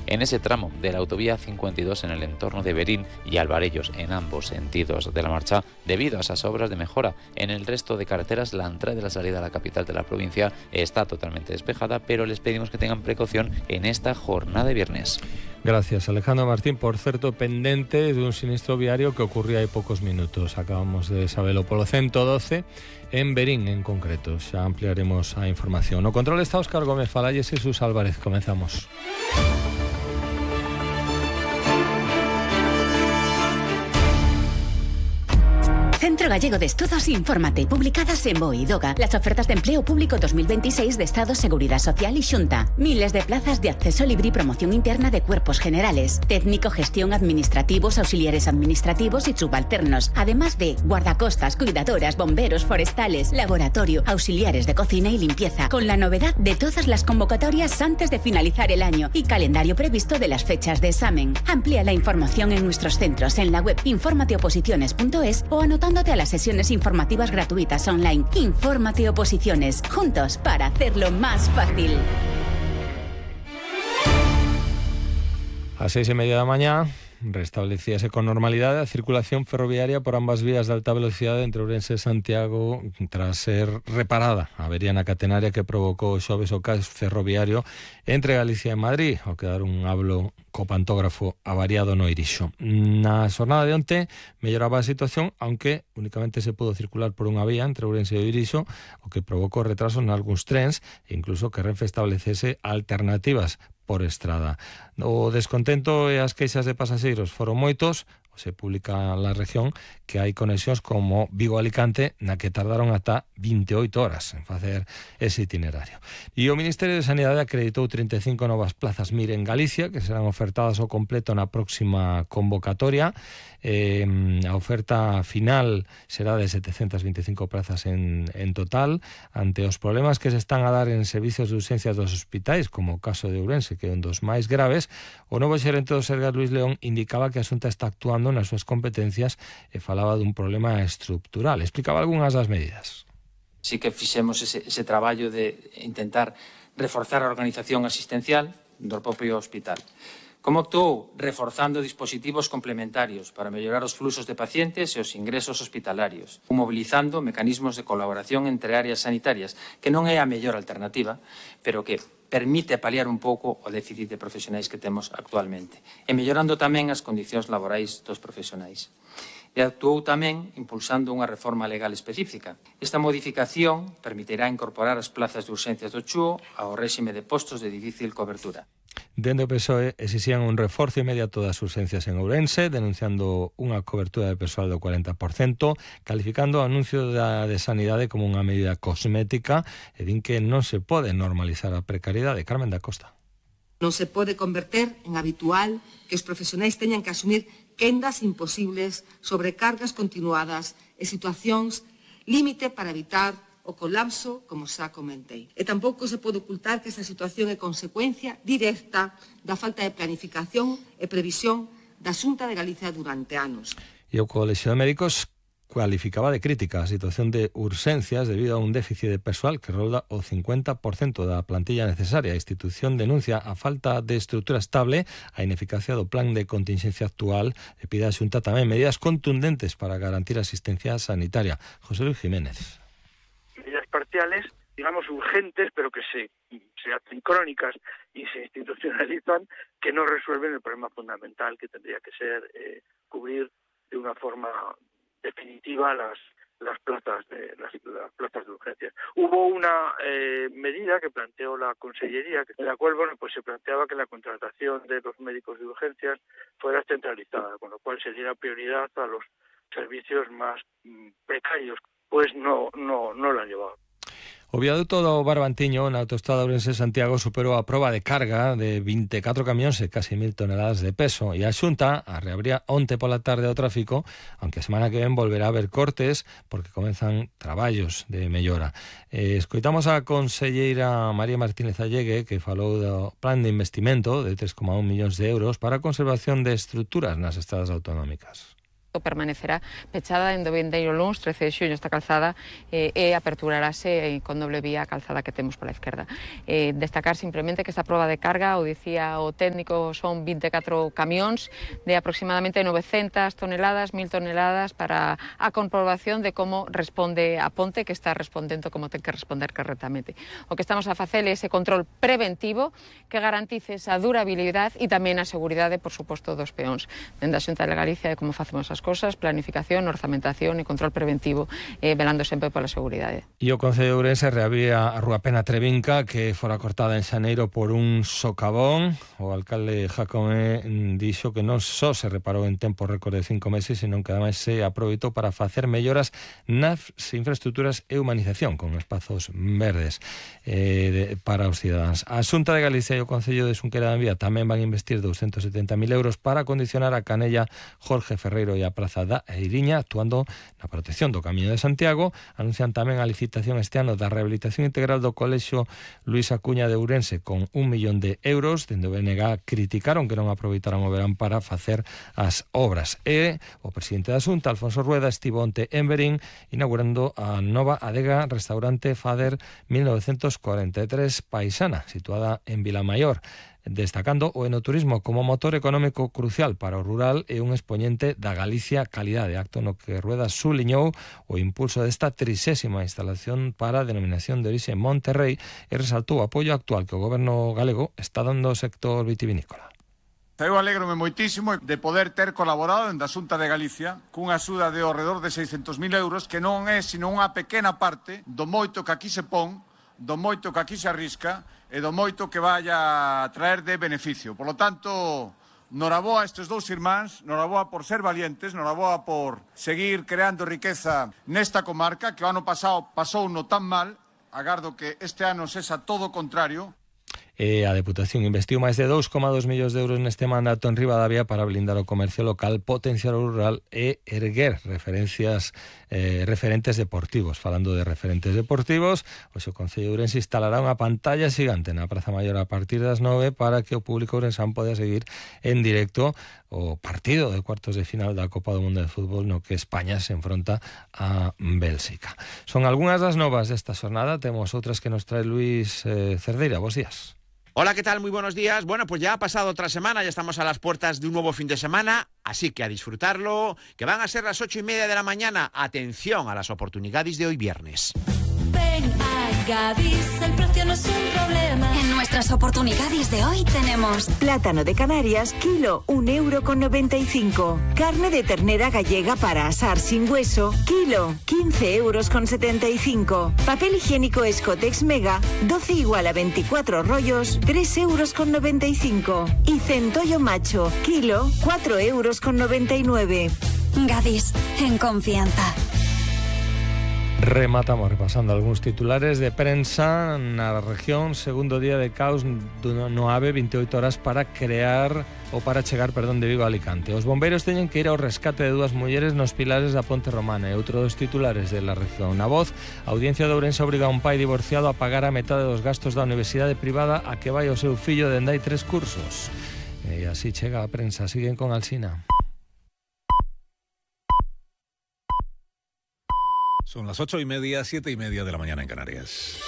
en ese tramo de la autovía 52 en el entorno de Berín y Alvarellos en ambos sentidos de la marcha debido a esas obras de mejora. En el resto de carreteras la entrada y la salida a la capital de la provincia está totalmente despejada, pero les pedimos que tengan precaución en esta jornada de viernes. Gracias, Alejandro Martín. Por cierto, pendente de un sinistro viario que ocurría hay pocos minutos. Acabamos de saberlo polo 112 en Berín en concreto. Xa ampliaremos a información. No control está Óscar Gómez Falalles e Jesús Álvarez. Comenzamos. Centro Gallego de Estudos Infórmate, publicadas en BOE y DOGA, las ofertas de empleo público 2026 de Estado, Seguridad Social y Xunta. Miles de plazas de acceso libre y promoción interna de cuerpos generales, técnico, gestión, administrativos, auxiliares administrativos y subalternos, además de guardacostas, cuidadoras, bomberos, forestales, laboratorio, auxiliares de cocina y limpieza, con la novedad de todas las convocatorias antes de finalizar el año y calendario previsto de las fechas de examen. Amplía la información en nuestros centros en la web informateoposiciones.es o anotándote a las sesiones informativas gratuitas online. Infórmate Oposiciones, juntos para hacerlo más fácil. A 6:30 da mañá restablecíase con normalidade a circulación ferroviaria por ambas vías de alta velocidade entre Ourense e Santiago tras ser reparada a avería na catenaria que provocou xoves o caos ferroviario entre Galicia e Madrid, ao quedar un hablo co pantógrafo avariado no Irixo. Na xornada de onte melloraba a situación, aunque únicamente se pudo circular por unha vía entre Ourense e Irixo, o que provocou retrasos nalgúns trens e incluso que Renfe establecese alternativas por estrada. O descontento e as queixas de pasaxeiros foron moitos. Se publica na región que hai conexións como Vigo-Alicante na que tardaron ata 28 horas en facer ese itinerario. E o Ministerio de Sanidade acreditou 35 novas plazas MIR en Galicia que serán ofertadas ao completo na próxima convocatoria. A oferta final será de 725 plazas en total. Ante os problemas que se están a dar en servicios de urxencias dos hospitais, como o caso de Ourense, que é un dos máis graves, o novo xerente do Sergas, Luis León, indicaba que a Xunta está actuando nas súas competencias e falaba dun problema estructural. Explicaba algunhas das medidas. Sí que fixemos ese traballo de intentar reforzar a organización asistencial do propio hospital. Como actuou? Reforzando dispositivos complementarios para mellorar os fluxos de pacientes e os ingresos hospitalarios, mobilizando mecanismos de colaboración entre áreas sanitarias, que non é a mellor alternativa, pero que permite paliar un pouco o déficit de profesionais que temos actualmente, e mellorando tamén as condicións laborais dos profesionais. E actuou tamén impulsando unha reforma legal específica. Esta modificación permitirá incorporar as plazas de urxencias do CHUO ao réxime de postos de difícil cobertura. Dende o PSOE exixían un reforzo inmediato das urxencias en Ourense, denunciando unha cobertura de persoal do 40%, calificando o anuncio de Sanidade como unha medida cosmética e din que non se pode normalizar a precariedade. Carmen da Costa. Non se pode converter en habitual que os profesionais teñan que asumir quendas imposibles, sobrecargas continuadas e situacións límite para evitar o colapso, como xa comentei. E tampouco se pode ocultar que esta situación é consecuencia directa da falta de planificación e previsión da Xunta de Galicia durante anos. E o Colexio de Médicos cualificaba de crítica a situación de urxencias debido a un déficit de persoal que rolda o 50% da plantilla necesaria. A institución denuncia a falta de estrutura estable, a ineficacia do plan de contingencia actual e pide a Xunta tamén medidas contundentes para garantir a asistencia sanitaria. José Luis Jiménez. Medidas parciales, digamos urgentes, pero que se hacen crónicas y se institucionalizan, que no resuelven el problema fundamental que tendría que ser cubrir de una forma definitiva las plazas de urgencias. Hubo una medida que planteó la Consellería, en la cual pues se planteaba que la contratación de los médicos de urgencias fuera centralizada, con lo cual se diera prioridad a los servicios más precarios. Pues no lo han llevado. O viaduto do Barbantiño na autoestrada Ourense-Santiago superou a proba de carga de 24 camións e casi 1000 toneladas de peso e a Xunta a reabría onte pola tarde o tráfico, aunque a semana que ven volverá a haber cortes porque comenzan traballos de mellora. Escoitamos a conselleira María Martínez Allegue que falou do plan de investimento de 3,1 millóns de euros para a conservación de estruturas nas estradas autonómicas. permanecerá pechada en do vindeiro luns 13 de xuño esta calzada e aperturarase con doble vía a calzada que temos pola esquerda. Destacar simplemente que esta proba de carga, o dicía o técnico, son 24 camións de aproximadamente 900 toneladas, 1000 toneladas para a comprobación de como responde a ponte, que está respondendo como ten que responder correctamente. O que estamos a facer é ese control preventivo que garantice esa durabilidade e tamén a seguridade, por suposto, dos peóns. Dende a Xunta de Galicia de como facemos as cosas, planificación, orzamentación e control preventivo, velando sempre pola seguridade. E o Concello de Ourense reabría a Rúa Pena Trevinca, que fora cortada en xaneiro por un socavón. O alcalde Jacome dixo que non só se reparou en tempo récord de 5 meses, senón que ademais se aproveitou para facer melloras nas infraestructuras e humanización con espazos verdes para os cidadáns. A Xunta de Galicia e o Concello de Xunqueira da Envía tamén van investir 270.000 euros para acondicionar a Canella Jorge Ferreiro e a Praza da Eiriña, actuando na protección do Camiño de Santiago. Anuncian tamén a licitación este ano da rehabilitación integral do Colexio Luís Acuña de Ourense con 1 millón de euros. Dende o BNG criticaron que non aproveitaran o verán para facer as obras. E o presidente da Xunta, Alfonso Rueda, estivo onte en Verín inaugurando a nova adega restaurante Fader 1943 Paisana, situada en Vilamaior, destacando o enoturismo como motor económico crucial para o rural e un expoñente da Galicia calidade, acto no que Rueda subliñou o impulso desta 30ª instalación para a denominación de orixe Monterrey e resaltou o apoio actual que o goberno galego está dando ao sector vitivinícola. Eu alégrome moitísimo de poder ter colaborado en da Xunta de Galicia cunha axuda de ao redor de 600.000 euros, que non é sino unha pequena parte do moito que aquí se pon, do moito que aquí se arrisca e do moito que vaya a traer de beneficio. Por lo tanto, noraboa a estes dous irmáns, noraboa por ser valientes, noraboa por seguir creando riqueza nesta comarca, que o ano pasado pasou no tan mal, agardo que este ano sexa todo o contrario. A Deputación investiu máis de 2,2 millóns de euros neste mandato en Ribadavia para blindar o comercio local, potenciar o rural e erguer referentes deportivos. Falando de referentes deportivos, o Concello de Ourense instalará unha pantalla xigante na Praza Maior a partir das 9 para que o público ourensán poda seguir en directo o partido de cuartos de final da Copa do Mundo de Fútbol no que España se enfronta a Bélxica. Son algunhas das novas desta xornada, temos outras que nos trae Luis Cerdeira. Bos días. Hola, ¿qué tal? Muy buenos días. Bueno, pues ya ha pasado otra semana, ya estamos a las puertas de un nuevo fin de semana, así que a disfrutarlo, que van a ser las 8:30 de la mañana. Atención a las oportunidades de hoy viernes. Ven a Gadis, el precio no es un problema. En nuestras oportunidades de hoy tenemos plátano de Canarias, kilo, 1,95 €. Carne de ternera gallega para asar sin hueso, kilo, 15,75 €. Papel higiénico Escotex Mega, 12 igual a 24 rollos, 3,95 €. Y centollo macho, kilo, 4,99 €. Gadis, en confianza. Rematamos repasando algúns titulares de prensa na región. Segundo día de caos no AVE, 28 horas para chegar de Vigo a Alicante. Os bombeiros teñen que ir ao rescate de dúas mulleres nos pilares da Ponte Romana. E outro dos titulares de la región. Na Voz, a Audiencia de Ourense obriga a un pai divorciado a pagar a metade dos gastos da universidade privada a que vai o seu fillo dende hai 3 cursos. E así chega a prensa. Siguen con Alsina. Son las 8:30, 7:30 de la mañana en Canarias.